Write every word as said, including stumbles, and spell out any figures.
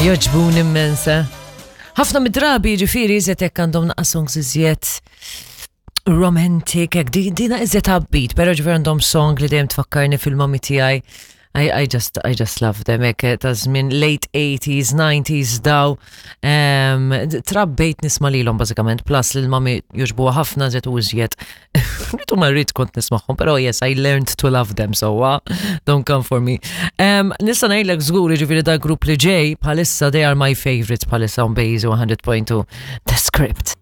Jogħġbuni immens. eh? Ħafna mid-drabi ġifieri iżjed hekk għandhom naqra songs iżjed romantic, hekk di, dina iżjed upbeat, pero ġifieri għandhom song li dejjem tfakkarni fil-mami tiegħi. I, I just I just love them hekk ta' żmien late eighties, nineties daw. Um, trabbejt nisma' lilhom bażikament, plus li l-mami jogħġbuha ħafna żed u iżjed. Rritu ma rrid kont nismagħhom, pero yes, I learned to love them, so uh, don't come for me. Um, nista' ngħidlek żgur ġifieri da grupp li ġej bħalissa they are my favorites bħalissa on Base one hundred point two, The Script.